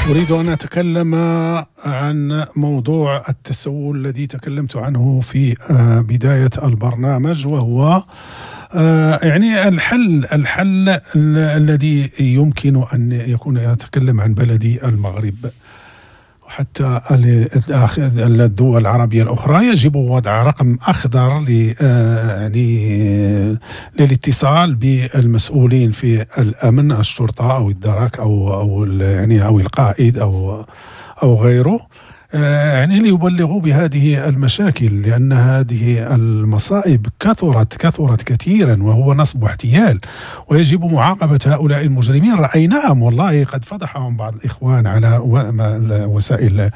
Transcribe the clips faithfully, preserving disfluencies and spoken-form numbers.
أريد أن أتكلم عن موضوع التسول الذي تكلمت عنه في بداية البرنامج، وهو يعني الحل الحل الذي يمكن أن يكون. أتكلم عن بلدي المغرب وحتى الدول العربية الأخرى. يجب وضع رقم أخضر يعني للاتصال بالمسؤولين في الأمن، الشرطة أو الدرك أو أو يعني أو القائد أو أو غيره، يعني ليبلغوا بهذه المشاكل، لأن هذه المصائب كثرت كثرت كثيرا، وهو نصب واحتيال، ويجب معاقبة هؤلاء المجرمين. رأيناهم والله قد فضحهم بعض الإخوان على وسائل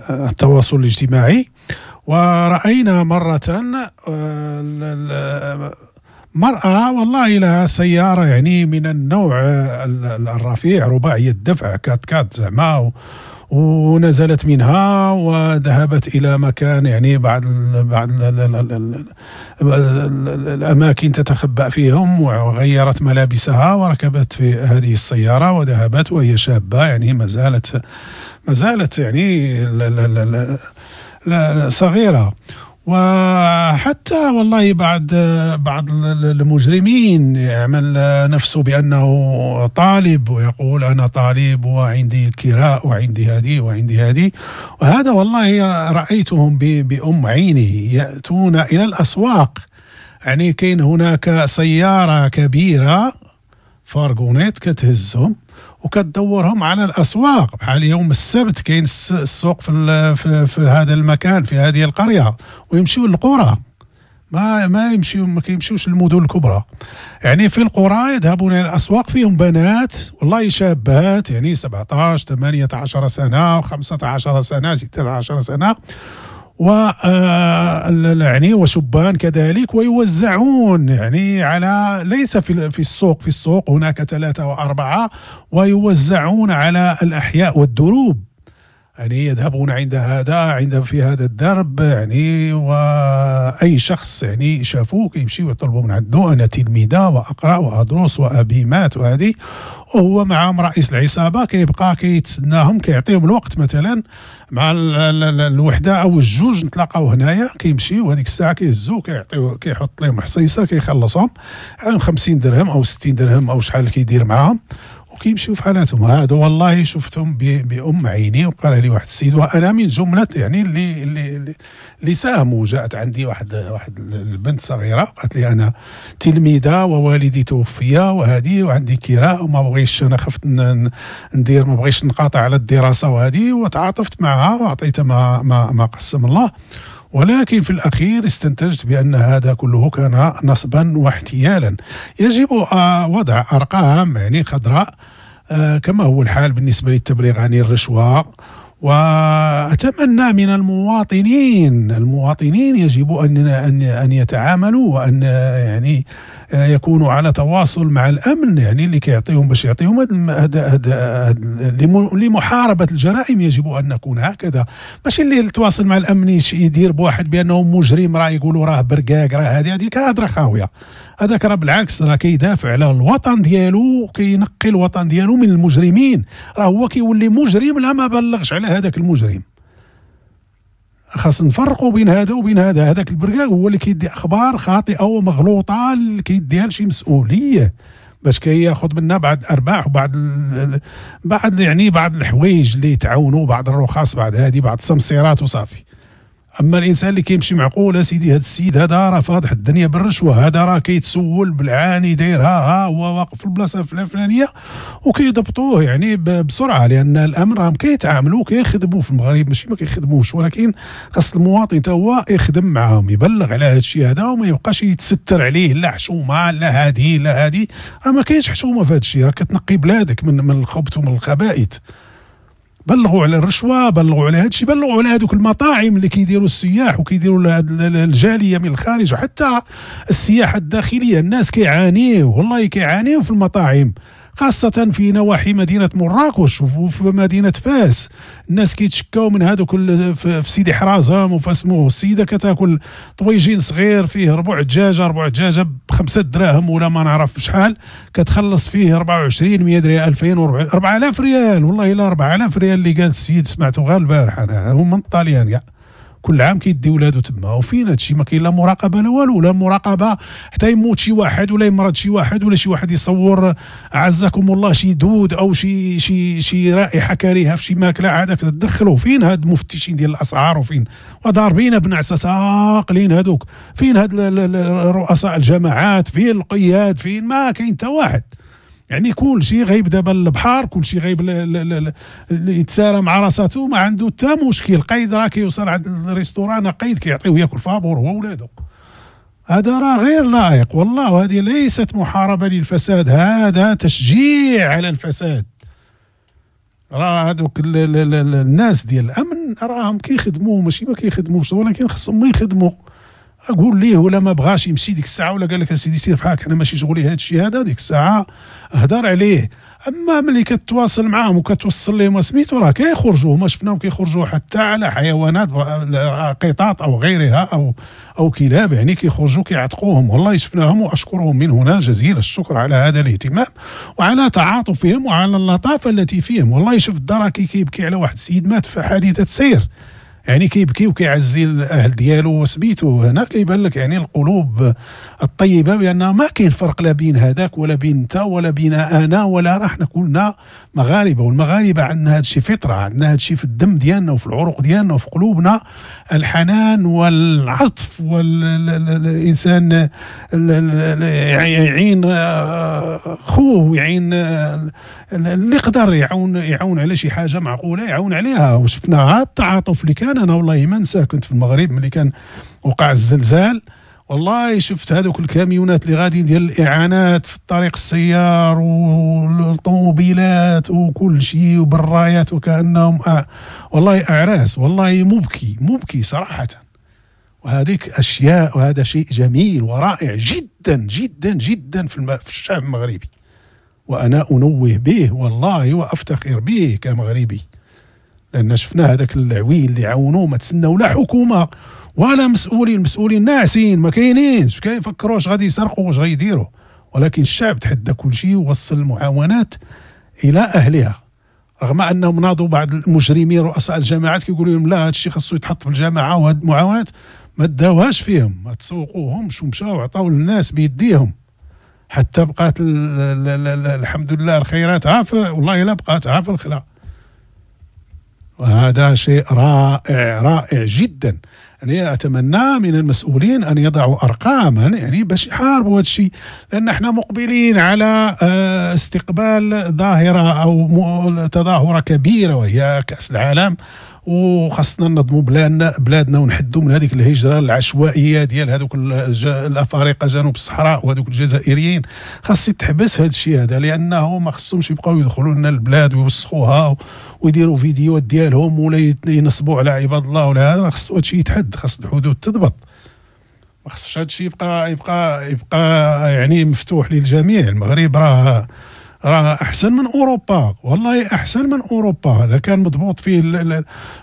التواصل الاجتماعي. ورأينا مرة مرأة والله لها سيارة يعني من النوع الرفيع، رباعية الدفع، كات كات زعما، ونزلت منها وذهبت إلى مكان يعني بعض بعض الأماكن تتخبأ فيهم، وغيرت ملابسها وركبت في هذه السيارة وذهبت، وهي شابة يعني ما زالت ما زالت يعني صغيرة. وحتى والله بعض بعض المجرمين يعمل نفسه بأنه طالب ويقول أنا طالب وعندي الكراء وعندي هذه وعندي هذه، وهذا والله رأيتهم بأم عيني يأتون إلى الأسواق. يعني كاين هناك سيارة كبيرة فارغونيت كتهزهم وكتدورهم على الأسواق، بحال يوم السبت كاين السوق في, في, في هذا المكان في هذه القرية، ويمشيو للقرى، ما ما يمشيو ما كيمشيوش للمدن الكبرى. يعني في القرى يذهبون إلى الأسواق، فيهم بنات والله شابات يعني سبعة عشر ثمانية عشر سنة خمسة عشر سنة ستة عشر سنة، و يعني وشبان كذلك، ويوزعون يعني على ليس في في السوق، في السوق هناك ثلاثة وأربعة، ويوزعون على الأحياء والدروب. يعني يذهبون عند هذا عند في هذا الدرب، يعني وأي شخص يعني شافوه يمشي ويطلبوا من عنده أنا تلميذة وأقرأ وأدرس وأبي مات وهذه، وهو معهم رئيس العصابة كيبقى كيتسناهم، كيعطيهم الوقت مثلا مع الوحدة أو الجوج نتلاقاو هنايا، كيمشيو وهذيك الساعة كيهزو كيعطيو كيحط لهم حصيصة كيخلصهم خمسين درهم أو ستين درهم أو شحال كيدير معاهم، وكيمشيو في حالاتهم. هذا والله شفتهم بأم عيني، وقال لي واحد السيد، وأنا من جملة يعني اللي اللي اللي ساهموا. جاءت عندي واحد واحد البنت صغيرة قالت لي أنا تلميذة ووالدي توفي وهذه وعندي كراء وما بغيتش، أنا خفت ندير ما بغيتش نقاطع على الدراسة وهذه، وتعاطفت معها وأعطيتها ما ما ما قسم الله. ولكن في الأخير استنتجت بأن هذا كله كان نصبا واحتيالا. يجب وضع أرقام يعني خضراء كما هو الحال بالنسبة للتبليغ عن الرشوة. وأتمنى من المواطنين المواطنين يجب أن أن أن يتعاملوا وأن يعني يكونوا على تواصل مع الأمن، يعني اللي كيعطيهم باش يعطيهم هذا هذا لمحاربة الجرائم. يجب أن نكون هكذا، ماشي اللي يتواصل مع الأمن يدير بواحد بأنه مجرم راه يقولوا راه برقاق راه هذه هذيك هضره خاوية. هذاك راه بالعكس راه كيدافع على الوطن ديالو، كينقي الوطن ديالو من المجرمين، راه هو كيولي مجرم لا ما بلغش على هذاك المجرم. خاص نفرقوا بين هذا وبين هذا. هذاك البرقاق هو اللي كيدي اخبار خاطئه ومغلوطه اللي كيديها لشي مسؤولية باش كياخذ منا بعض الارباح وبعض بعض يعني بعض الحوايج اللي يتعاونوا، بعض الرخص، بعض هذه، بعض السمسيرات وصافي. اما الانسان اللي كيمشي معقول اسيدي هذا السيد هذا راه فاضح الدنيا بالرشوة، هذا راه كيتسول بالعاني داير ها ها هو واقف في البلاصة الفلانية، وكيضبطوه يعني بسرعة، لان الامر راهم كيتعاملوا كيخدموا في المغرب، ماشي ما كيخدموش، ولكن خاص المواطن تا هو يخدم معاهم، يبلغ على هذا الشيء هذا وما يبقاش يتستر عليه، لا حشومه لا هذه لا هذه. راه ما كاينش حشومه في هذا الشيء، راه كتنقي بلادك من من الخبث ومن الخبائث. بلغوا على الرشوة، بلغوا على هذا الشيء، بلغوا على هذوك المطاعم اللي كيديروا السياح وكيديروا الجالية من الخارج، وحتى السياحة الداخلية الناس كيعانيوا والله كيعانيوا في المطاعم. خاصة في نواحي مدينة مراكش وفي مدينة فاس. الناس كيتشكاو من هذوك في سيدي حرازم وفاسمو. السيدة كتاكل طويجين صغير فيه ربع دجاجة، ربع دجاجة بخمسة دراهم ولا ما نعرف بشحال، كتخلص فيه أربعة وعشرين مية ريال، ألفين وأربعة آلاف ريال. والله إلا أربعة آلاف ريال اللي قال السيد، سمعته غير البارح أنا، هم من الطاليان كاع كل عام كيدي ولادو تما. وفين هادشي؟ ما كاين لا مراقبة لا والو، لا مراقبة حتى يموت شي واحد ولا يمرض شي واحد ولا شي واحد يصور عزكم الله شي دود او شي شي شي رائحة كريهة في شي ماكله، عادك تدخلوا. فين هاد المفتشين ديال الاسعار؟ وفين وضاربين بنعسه ساقلين هادوك؟ فين هاد رؤساء الجماعات؟ فين القياد؟ فين؟ ما كاين حتى واحد. يعني كل شيء غايب دابا البحر، كل شيء غايب يتسارى مع راساتو، ما عنده حتى مشكل. قيد راه كيوصل عند ال restaurant قيد كيعطيوه ياكل فابور هو ولادو. هذا راه غير لائق والله. وهذه ليست محاربة للفساد، هذا تشجيع على الفساد. راه هذوك الناس ديال الامن راهم كيخدموا، ماشي ما كيخدموش، ولكن خصهم ما يخدموا. اقول ليه ولا ما بغاش يمشي ديك الساعة، ولا قال لك اسيدي سير بحالك انا ماشي شغلي هذا الشيء هذا، ديك الساعة هدر عليه. اما ملي كتواصل معاهم وكتوصل لهم سميتو راه كيخرجوا، هما شفناهم كيخرجوا حتى على حيوانات قطاط او غيرها او او كلاب، يعني كيخرجوا كيعتقوهم. والله شفناهم واشكرهم من هنا جزيل الشكر على هذا الاهتمام وعلى تعاطفهم وعلى اللطافه التي فيهم. والله شفت الدركي كيبكي على واحد السيد مات في حادثه سير، يعني كيبكي وكيعزي الاهل ديالو وسميتو. هنا كيبان لك يعني القلوب الطيبة، بان ما كاين فرق لا بين هذاك ولا بين انت ولا بين انا ولا راه حنا كلنا مغاربة، والمغاربة عندنا هذا الشيء فطره، عندنا هذا الشيء في الدم ديالنا وفي العروق ديالنا وفي قلوبنا، الحنان والعطف، والانسان يعين خوه ويعين اللي يقدر يعاون، يعاون على شي حاجة معقولة يعاون عليها. وشفنا التعاطف اللي كان. انا والله ما ننسى كنت في المغرب ملي كان وقع الزلزال، والله شفت هذوك الكاميونات اللي غاديين ديال الاعانات في الطريق السيار والطوموبيلات وكل شيء وبالرايات وكانهم أ... والله اعراس، والله مبكي مبكي صراحة. وهذيك اشياء، وهذا شيء جميل ورائع جدا جدا جدا في, الم... في الشعب المغربي، وانا انوه به والله وافتخر به كمغربي، لأن شفنا هذاك العويل اللي عاونوه، ما تسناو لا حكومة ولا مسؤولين، المسؤولين ناعسين ما كاينينش، كيفكروا واش غادي يسرقوا واش غيديروا، ولكن الشعب تحدى كل شيء ووصل المعاونات إلى أهلها، رغم أنهم ناضوا بعض المجرمين رؤساء الجماعات كيقولوا لهم لا هذا الشيء خاصو يتحط في الجماعة، وهاد المعاونات ما داوهاش فيهم، ما تسوقوهمش ومشاو عطاو للناس بيديهم، حتى بقات الحمد لله الخيرات عافا، والله لا بقات عافا الخلا. وهذا شيء رائع رائع جدا. يعني أتمنى من المسؤولين أن يضعوا أرقاما يعني باش يحاربوا هذا الشيء، لأن احنا مقبلين على استقبال ظاهرة أو تظاهرة كبيرة وهي كأس العالم، وخاصنا ننظموا بلادنا بلادنا ونحدوا من هذيك الهجرة العشوائية ديال هذوك الأفارقة جنوب الصحراء وهذوك الجزائريين. خاص يتحبس هذا الشيء هذا، لأنه ما خصهمش يبقاو يدخلوا لنا البلاد ويوسخوها ويديروا فيديوهات ديالهم ولا ينصبوا على عباد الله ولا هذا. خاص هذا الشيء يتحد، خاص الحدود تضبط، ما خصش هذا الشيء يبقى يبقى يبقى يعني مفتوح للجميع. المغرب راه راه احسن من اوروبا، والله احسن من اوروبا. الا كان مضبوط فيه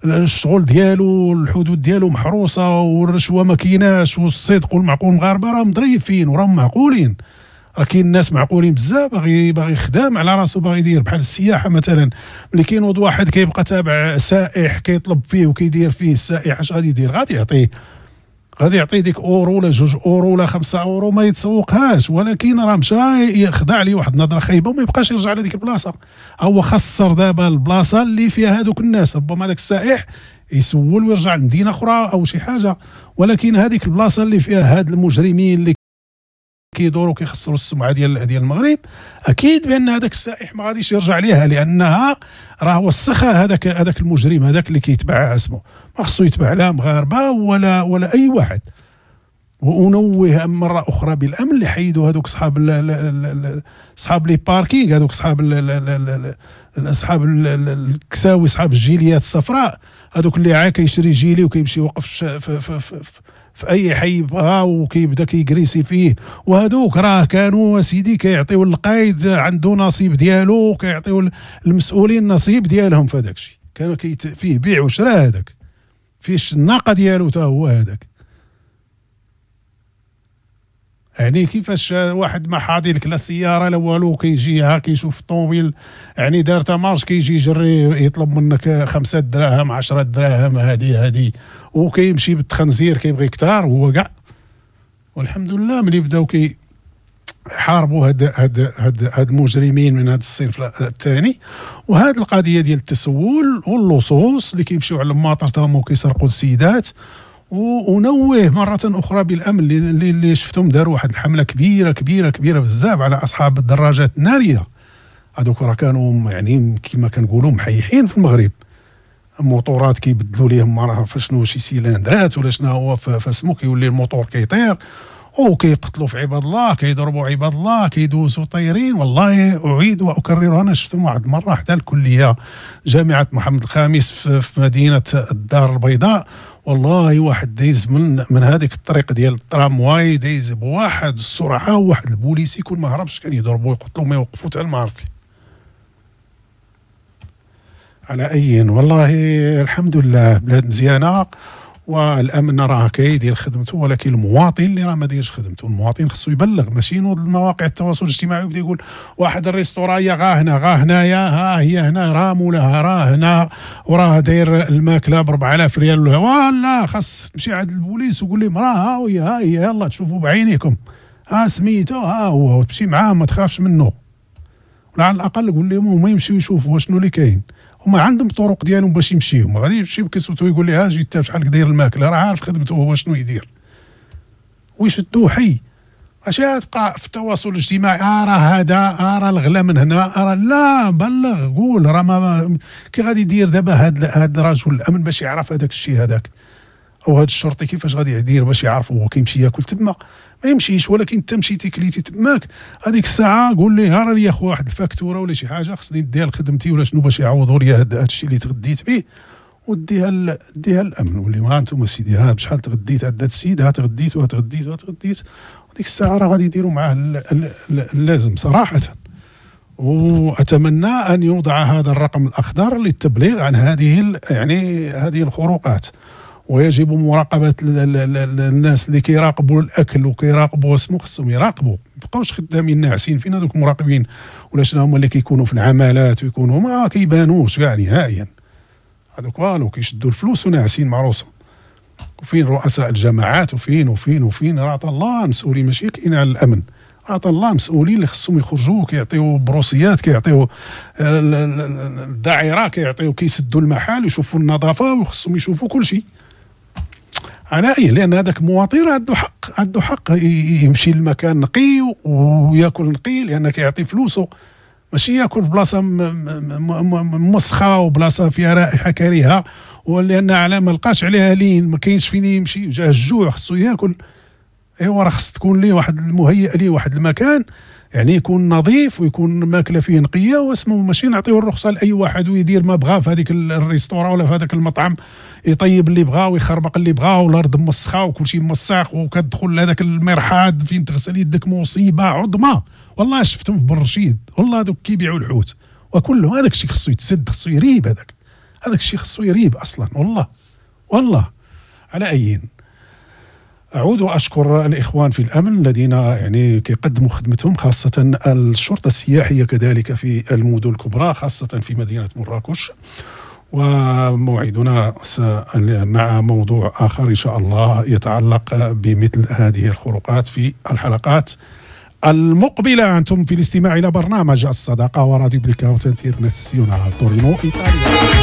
الشغل ديالو، الحدود ديالو محروسه، والرشوه ما كايناش، والصدق والمعقول، المغاربة راهم ظريفين وراهم معقولين، راه كاين الناس معقولين بزاف، باغي باغي يخدم على راسو، باغي يدير بحال السياحة مثلا، ملي كينوض واحد كيبقى تابع سائح كيطلب فيه وكيدير فيه السائح، اش غادي يدير؟ غادي يعطيه غادي يعطي ديك اورو ولا جوج اورو ولا خمسة اورو، ما يتسوقهاش، ولكن راه مشى يخضع ليه واحد النظرة خايبة وما يبقاش يرجع لهذيك البلاصة. هو خسر دابا البلاصة اللي فيها هذوك الناس، ربما هذاك السائح يسول ويرجع لمدينة اخرى او شي حاجة، ولكن هذيك البلاصة اللي فيها هاد المجرمين اللي كيدوروا كيخسروا السمعة ديال ديال المغرب، اكيد بان هذاك السائح ما غاديش يرجع ليها، لانها راه وسخها هذاك هذاك المجرم هذاك اللي كيتبع اسمه، ما خصو يتبع لا مغاربة ولا ولا اي واحد. وانوه مرة اخرى بالامن اللي حيدوا هذوك صحاب صحاب les parkings، هذوك صحاب اصحاب الكساوي، صحاب الجيليات الصفراء، هذوك اللي عا كيشري gilet وكيمشي يوقف في, في, في, في اي حي بغا وكيبدا كيكريسي فيه. وهذوك راه كانوا سيدي كيعطيو القايد عنده نصيب ديالو، كيعطيو المسؤولين النصيب ديالهم في هذاك الشيء. كانوا كيت فيه بيع وشراء، هذاك فيه الناقة ديالو حتى هو هذاك. يعني كيفاش واحد ما حاضي لك لا سيارة لا والو، كيجي كيشوف الطوموبيل يعني دار marche، كيجي يجري يطلب منك خمسة دراهم عشرة دراهم هادي هادي، وكيمشي بالتخنزير كيبغي كثار هو كاع. والحمد لله ملي بداو كي حاربوا هاد هاد هاد هاد المجرمين من هذا الصنف الثاني. وهاد القضية ديال التسول واللصوص اللي كيمشيو على الماطر تاهم وكيسرقوا السيدات. ونوه مرة أخرى بالأمن اللي, اللي شفتهم داروا واحد الحملة كبيرة كبيرة كبيرة بزاف على أصحاب الدراجات النارية. هذوك راه كانوا يعني كما كنقولوا محيحين في المغرب، الموتورات كيبدلوا ليهم ما عرف شنو شي سيلندرات ولا شنو هو فاسمو، كيولي الموتور كيطير وكيقتلوا في عباد الله، كيضربوا عباد الله، كيدوزوا طايرين. والله أعيد وأكرر، أنا شفتهم واحد المرة حتى الكلية جامعة محمد الخامس في مدينة الدار البيضاء، والله واحد دايز من من هذيك الطريق ديال الترامواي دايز بواحد السرعة، وواحد البوليسي كون ما هربش كان يضربوا يقتلوا ما يوقفوا حتى ما عرف. على اي والله الحمد لله البلاد مزيانه والامن راه كيدير خدمته، ولكن المواطن اللي راه ما دايرش خدمته. المواطن خصو يبلغ، ماشي ينوض المواقع التواصل الاجتماعي ويبدا يقول واحد ال restaurant غا هنا غا هنايا ها هي هنا راه مولاها راه هنا وراه داير الماكلة ب أربعة آلاف ريال. ولا خاص تمشي عند البوليس وقول لهم راه ها هي ها هي يلا تشوفوا بعينيكم ها سميتو ها هو، وتمشي معاه ما تخافش منه، ولا على الاقل قول لهم هما يمشيو يشوفوا شنو اللي كاين. هما عندهم طرق ديالهم باش يمشيو، ما غاديش يمشيو كيصوتو يقول لي ها جيت شحال داير الماكلة، راه عارف خدمته هو شنو يدير، ويشدوه حي. اش تبقى في التواصل الاجتماعي آه راه هذا آه راه الغلا من هنا آه راه لا، بلغ قول راه ما كي غادي يدير دابا هاد هاد رجل الامن باش يعرف هذاك الشيء هذاك، او هاد الشرطي كيفاش غادي يدير باش يعرف هو كيمشي ياكل تما؟ ما يمشيش. ولكن انت مشيتي كليتي تماك هذيك الساعة قول ليه راه لي اخو واحد الفاكتوره ولا شي حاجة خصني نديها لخدمتي ولا شنو باش يعوضوا لي هذا الشيء اللي تغديت به، وديها ديها للامن واللي ها انتم سيدي ها بشحال تغديت عند هذا السيد، ها تغديت وها تغديت وها تغديت. وديك الساعة راه غادي يديروا معاه اللازم صراحة. واتمنى ان يوضع هذا الرقم الاخضر للتبليغ عن هذه يعني هذه الخروقات، ويجب مراقبة الناس اللي كيراقبوا الأكل وكيراقبوا اسمو، خصهم يراقبوا، ما يبقاوش خدامين ناعسين. فين هذوك المراقبين ولا شنو هما اللي كيكونوا في العمالات ويكونوا ما كيبانوش كاع نهائيا، هذوك والو كيشدوا الفلوس وناعسين مع روسهم. وفين رؤساء الجماعات وفين وفين وفين؟ راه عطا الله مسؤولين، ماشي كاين على الأمن، عطا الله مسؤولين اللي خصهم يخرجوا كيعطيو بروسيات، كيعطيو الدعيره، كيعطيو كيسدوا المحل ويشوفوا النظافة، وخصهم يشوفوا كل شيء. على اي، لان هذاك المواطن عنده حق، عنده حق يمشي لمكان نقي وياكل نقي، لان كيعطي فلوسه، ماشي ياكل في بلاصة موسخه وبلاصه فيها رائحة كريهة، ولان على ما لقاش عليها لين ما كاينش فين يمشي، جاه الجوع خصو ياكل. ايوا راه خص تكون ليه واحد المهيئ ليه واحد المكان يعني يكون نظيف ويكون ماكله فيه نقية واسمه، ماشي نعطيو الرخصة لاي واحد ويدير ما بغا في هذيك ال restaurant ولا في هذاك المطعم، يطيب اللي بغا ويخربق اللي بغا، والارض موسخه وكل شيء موسخ، وكتدخل لهذاك المرحاض فين تغسل يدك مصيبة عظمى. والله شفتهم في برشيد، والله دوك كيبيعوا الحوت وكلهم هذاك الشيء خصو يتسد، خصو يريب، هذاك هذاك الشيء خصو يريب اصلا والله والله. على اي، أعود وأشكر الإخوان في الأمن الذين يعني كيقدموا خدمتهم، خاصة الشرطة السياحية كذلك في المدن الكبرى، خاصة في مدينة مراكش. وموعدنا مع موضوع آخر إن شاء الله يتعلق بمثل هذه الخروقات في الحلقات المقبلة. أنتم في الاستماع إلى برنامج الصداقة وراديو بليكاوت انترناسيونال تورينو إيطاليا.